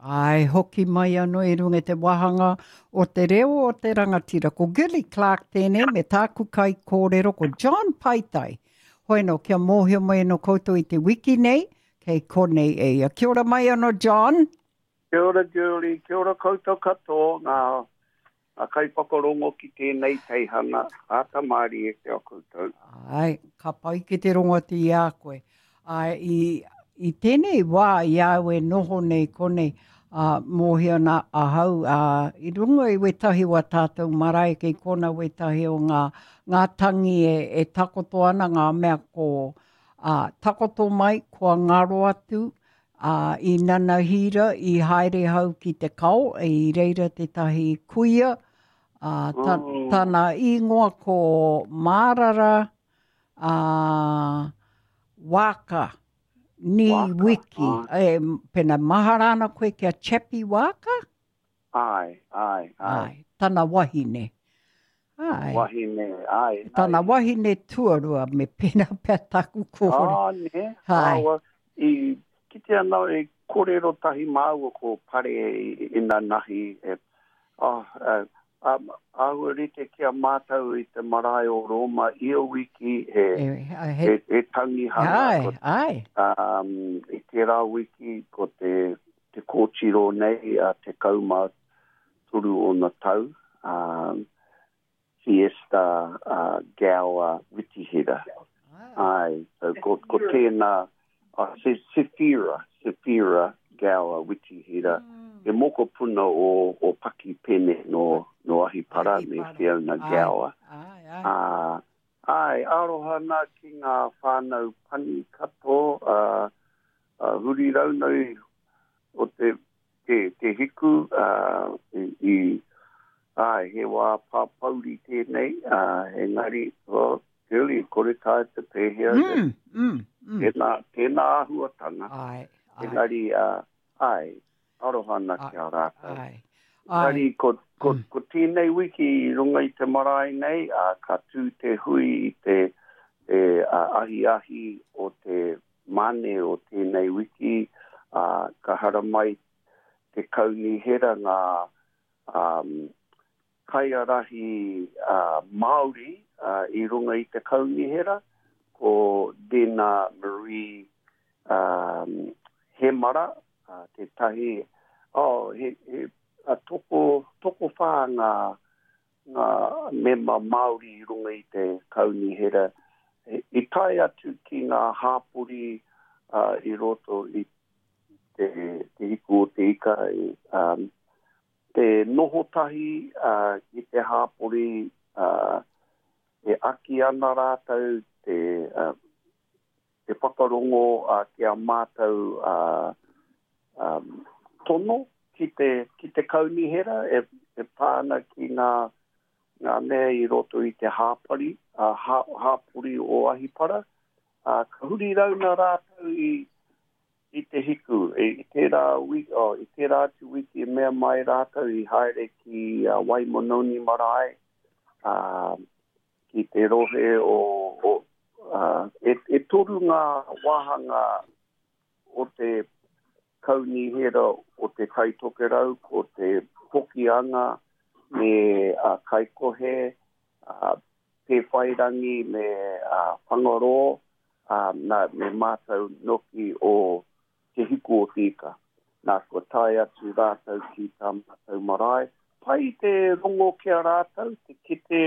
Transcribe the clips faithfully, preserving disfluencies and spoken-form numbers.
Ai, hoki mai anō i runga i te wāhanga o te reo o te rangatira. Ko Gilly Clark tēnei me tāku kai kōrero ko John Paitai. Hoi anō, kia mōhio mai anō koutou i te wiki nei, kei konei e ia. Kia ora mai anō, John. Kia ora, Julie. Kia ora koutou katoa, ngā, ngā kaiwhakarongo ki tēnei teihana, āta mārie ki a koutou. Ai, ka pai ki te rongo atu i a koe. Ai, i, i tēnei wā i a au e noho nei konei, uh, mōhio ana ahau, uh, i runga i wetahi o a tātou marae kei kona wetahi o ngā, ngā tangi e, e takoto ana ngā mea ko uh, takoto mai, kua ngaro atu, uh, i nanahira, i haere hau ki te kao, i reira tētahi kuia, uh, ta, Mm. tana ingoa ko Mārara, uh, Waka, ni Waka, wiki. ai. E, pena mahara ana koe kia Chappie Waka? Ai, ai, ai. Ai, tana wahine. Ai. Wahine, ai. Tana ai. wahine tuarua me pena pea taku kōrero. Ah, ne. Ai. Awa, i kite ana e kōrero tahi māua ko pare i, i nanahi. E, oh, uh, um, āhua rite ki a mātou i te marae o Roma ia wiki he, E, he, he, he tangihanga. ai, Ko, ai. um, i tērā wiki ko te, te kōtiro nei a te kaumā toru ona tau. Um, Fiesta uh, Gower Witihira. Ai, so ko, ko tēnā, uh, Sefira, Sefira Gower Witihira. He mokopuna o, o Paki Pene no, no Ahipara me Ahipara. Fiona Ai. Gower. Ai, ai. Uh, ai, aroha nā ki ngā whānau pani katoa, uh, uh, huri raunau o te, te, te hiku, uh, i, i, ai, he wā pāpauri tēnei, uh, engari, well, girlie, kore tae te pēhea, Mm, mm, mm. tēnā, tēnā āhuatanga, Ai, ai, engari, uh, ai, aroha ana Ai, ki a rātou. ai. Ai. Engari, ko, ko, Mm. ko tēnei wiki i runga i te marae nei, uh, ka tū te hui i te, te uh, ahiahi o te mane o tēnei wiki, uh, ka haramai te kaunihera ngā um, kaiarahi uh, Māori uh, i runga i te kaunihera, ko Dena Marie um, Hemara, uh, tētahi, oh, he, he, a toko, toko whā ngā, ngā mema Māori i runga i te kaunihera. I, i tae atu ki ngā hāpori uh, i roto i te, te hiku o te ika, i, um, te noho tahi uh, i te hāpori uh, e aki ana rātou te, uh, te whakarongo uh, ki a mātou uh, um, tono ki te, ki te kaunihera e, e pā ana ki ngā, ngā mea i roto i te hāpari, uh, hā, hāpori o Ahipara. Uh, ka huri rauna rātou i, i te hiku. I, i tērā wiki, oh, i tērā atu wiki e mea mai rātou i haere ki uh, Waimononi Marae, uh, ki te rohe o, o uh, e, e toru ngā wāhanga o te kaunihera o te Tai Tokerau, ko te Hokianga me uh, Kaikohe, uh, Pēwhairangi me uh, Whangarō, um, nā, me mātou noki o Te Hiku o Te Ika. Nā, kua tae atu rātou ki tā mātou marae. Pai te rongo ki a rātou, te kite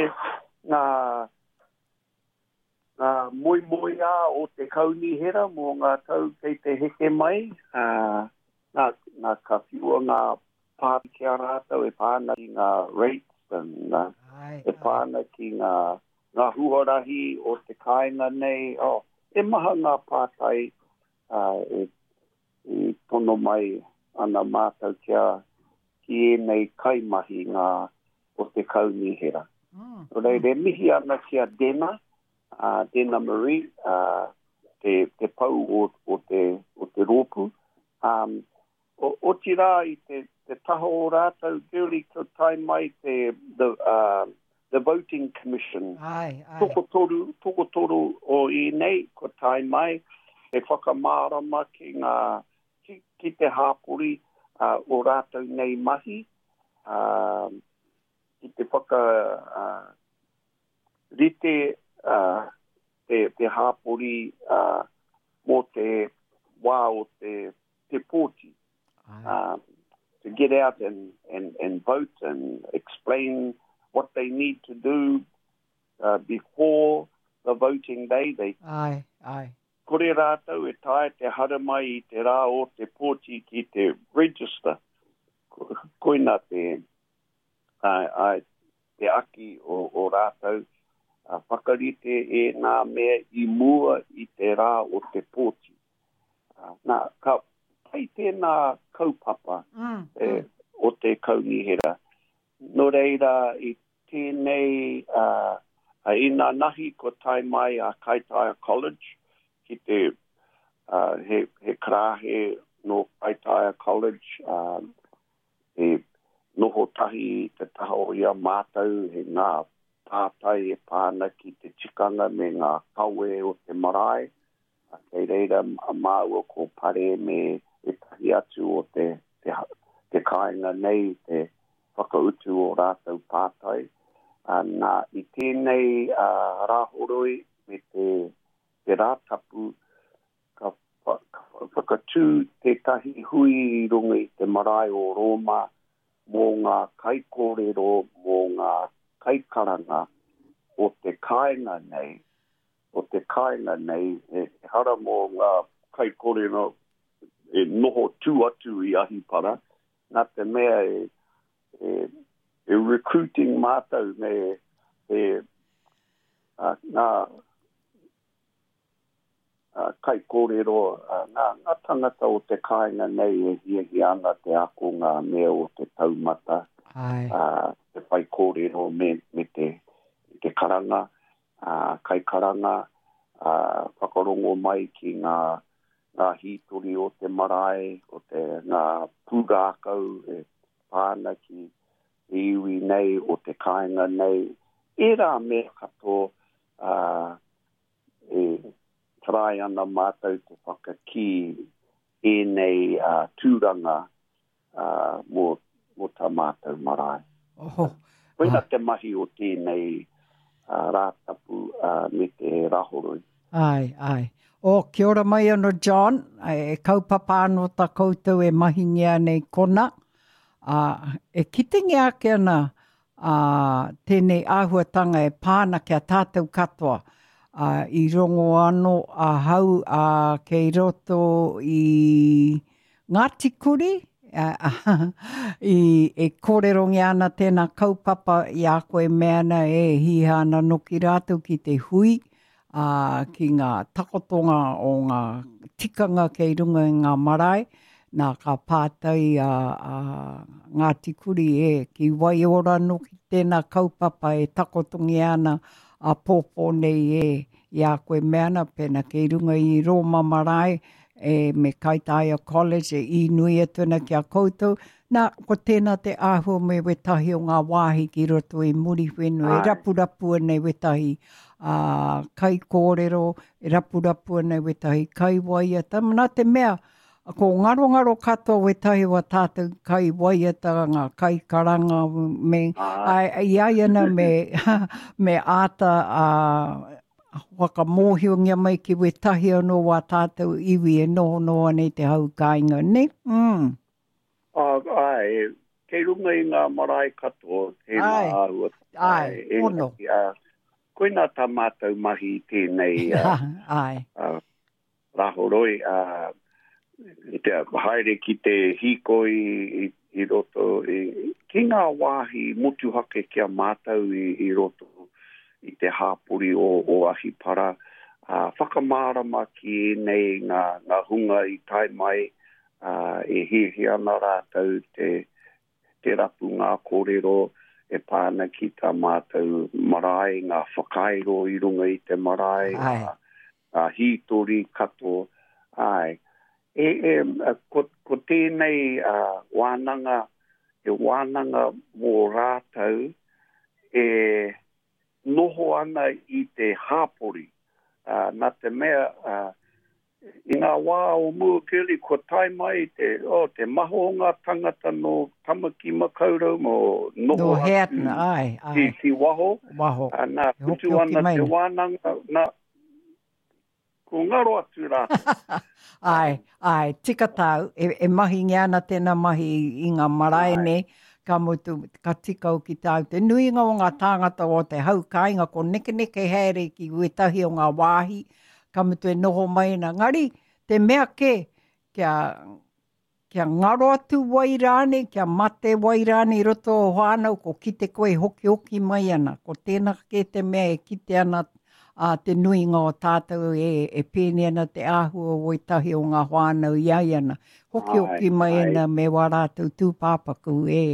ngā, ngā moemoeā o te kaunihera mō ngā tau kei te heke mai. Uh, nā, nā ka whiua ngā pā ki a rātou e pā ana ki ngā rates and, uh, Ai, e pā ana ki ngā, ngā huarahi o te kāinga nei. Oh, e maha ngā pātai uh, e, i tono mai ana mātou kia ki ēnei kaimahi ngā o te kaunihera. Mm. Nō reira, e mihi ana ki a Dena, uh, Dena Marie, uh, te, te pau o, o, te, o te rōpū. Um, o, otirā i te, te taha o rātou, girlie, ko tae mai te, the, uh, the Voting Commission. Ai, ai. Tokotoru, tokotoru o ēnei, ko tae mai, e whakamārama ki ngā, ki, ki te hāpori, uh, o rātou nei mahi, uh, ki te whaka uh, rite uh, te, te hāpori uh, mō te wā o te, te pōti. Uh, to get out and, and, and vote and explain what they need to do uh, before the voting day. They Ai, ai. Kore rātou e tae te haramai i te rā o te pōti ki te register. Koina te, ai, ai, te aki o, o rātou uh, whakarite e ngā mea i mua i te rā o te pōti. Uh, nā, ka pai tēnā kaupapa mm, e, mm. o te kaunihera. Nō reira i tēnei uh, i nā nahi ko tae mai a Kaitaia College ki te uh, he, he karahe no Kaitaia College uh, e noho tahi te taha o ia mātou he ngā pātai e pāna ki te tikanga me ngā kawe o te marae. Kei reira māua ko Pare me ētahi atu o te, te, te kāinga nei, te whakautu o rātou pātai. Nā, i tēnei uh, rāhoroi me te, te rātapu, ka, ka whakatū tētahi hui i runga i te marae o Roma mō ngā kaikōrero, mō ngā kaikaranga o te kāinga nei, o te kāinga nei, e hara mō ngā kaikōrero e noho tū atu i Ahipara, nā te mea e, e, e recruiting mātou me e, a, ngā a, kaikōrero, a, ngā, ngā tangata o te kāinga nei e hiahia ana te ako ngā mea o te taumata, Ai. a, te whaikōrero me, me te, te karanga, a, kaikaranga, a, whakarongo mai ki ngā, ngā hītori o te marae, o te ngā pūrākau e pāna ki te iwi nei, o te kāinga nei. Ērā mea katoa uh, e tarai ana mātou te whakakī ēnei uh, tūranga uh, mō, mō tā mātou marae. Oho. Koina te mahi o tēnei uh, rātapu uh, me te rāhoroi. Ai, ai. O, kia ora mai ano John, e kaupapa anō tā koutou e mahingia nei kona. Uh, e kitengia ake ana uh, tēnei āhuatanga e pāna kia tātou katoa. Uh, i rongo anō ahau uh, kei roto i Ngāti Kuri, uh, i, e kōrerongia ana tēnā kaupapa i a koe mea ana e hiha ana noki rātou ki te hui, uh, ki ngā takotonga o ngā tikanga kei runga i ngā marae. Nā ka pātai a, a Ngāti Kuri e ki Waiora noki tēnā kaupapa e takotongia ana a pōpō nei e i a koe mea ana pēnā kei runga i Roma marae e me Kaitaia College e i nui atu ana ki a koutou. Nā, ko tēnā te āhua me wetahi o ngā wāhi ki roto i Muriwhenua, e rapurapu ana i wetahi uh, kaikōrero, e rapurapu ana i wetahi kaiwaiata. Nā te mea, ko ngarongaro katoa wetahi wa tātou kaiwaiata, ngā kaikaranga, me, ai, i ai ana me, me āta uh, whakamōhiongia mai ki wetahi anō wā tātou iwi e noho noa nei te hau kāinga, ne? Mm. Uh, ai, kei runga i ngā marae katoa, tēnā āhua. Ai, ono. Uh, koina tā mātou mahi tēnei uh, ai. Uh, rāhoroi, uh, te haere ki te hīkoi i, i roto, i, ki ngā wāhi motuhake kia mātou i, i roto i te hāpori o, o Ahipara, uh, whakamārama ki ēnei ngā, ngā hunga i tae mai, uh, e hiahia ana rātou te, te rapu ngā kōrero e pāna ki tā mātou marae, ngā whakairo i runga i te marae, ngā, ngā hītori katoa. Ai. E, e, ko, ko tēnei uh, wānanga, e wānanga mō rātou e noho ana i te hāpori. Uh, nā te mea, uh, I ngā wā o mua Girlie, kua tae mai te, oh, te maha o ngā tangata no Tamaki Makaurau mo noho No atu Heatna, ai, ki, ai, ki waho. Waho. Ā, nā, E putu hokihoki ana mai te na. wānanga, nā, ko ngaro atu rātou. Ai, ai, tika tāu, e, e mahingia ana tēnā mahi i ngā marae Ai. nei, ka mutu, ka tika hoki tāu. Te nuinga o ngā tāngata o te hau kāinga, ko nekeneke haere ki wētahi o ngā wāhi, ka mutu e noho mai ana. Ngari, te mea kē, kia, kia ngaro atu wai rānei, kia mate wai rānei i roto o whānau, ko kite koe hokihoki mai ana. Ko tēnā kē te mea e kite ana a te nuinga o tātou e, e pēnei ana te āhua o wētahi o ngā whānau i ai ana. Ai, Hokihoki mai ai. ana me wā rātou tūpāpaku e,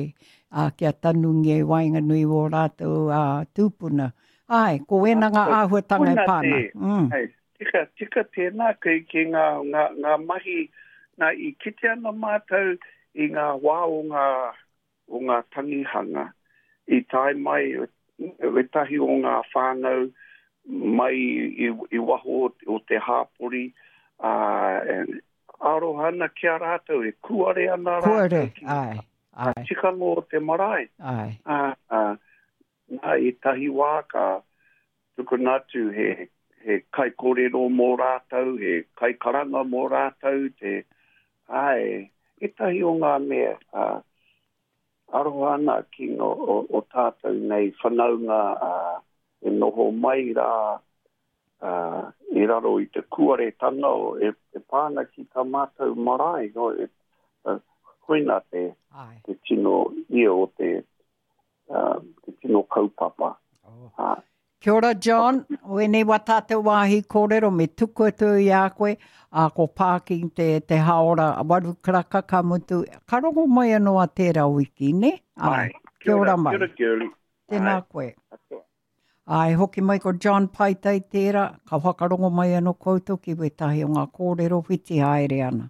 a, kia tanungia i waenganui o rātou a, tūpuna. Ai, ko wēnā ngā āhuatanga e Koina pā te, ana. Mm. ai, tika, tika tēnā ki, ki ngā, ngā, ngā mahi, nā, i kite ana mātou i ngā wā o ngā, o ngā tangihanga, i tae mai wētahi o ngā whānau mai i, i waho o te hāpori, ā, e aroha ana ki a rātou, e kuare ana rātou Kuare, ki ai, ngā ai. tikanga o te marae. Ai. Ā, ā, nā, ētahi wā ka tukuna atu he, he kaikōrero mō rātou, he kaikaranga mō rātou, te, ai, ētahi o ngā mea, ā, aroha ana ki ngā, o, o tātou nei whanaunga, ā, e noho mai rā, ā, i raro i te kuaretanga o, e, e pā ana ki tā mātou marae, no, e, uh, koina te, Ai. te tino ia o te, uh, te tino kaupapa. Oh. Ā. Kia ora, John. Wēnei wā tātou wāhi kōrero me tuku atu i a koe, a ko Parking te, te haora waru karaka ka mutu. Ka rongo mai anō a tērā wiki, ne? Ai. Kia ora mai. Kia ora, Girlie. Tēnā Ai. koe. Katoa. Ai, hoki mai ko John Paitai tērā, ka whakarongo mai anō koutou ki wētahi o ngā kōrero whiti haere ana.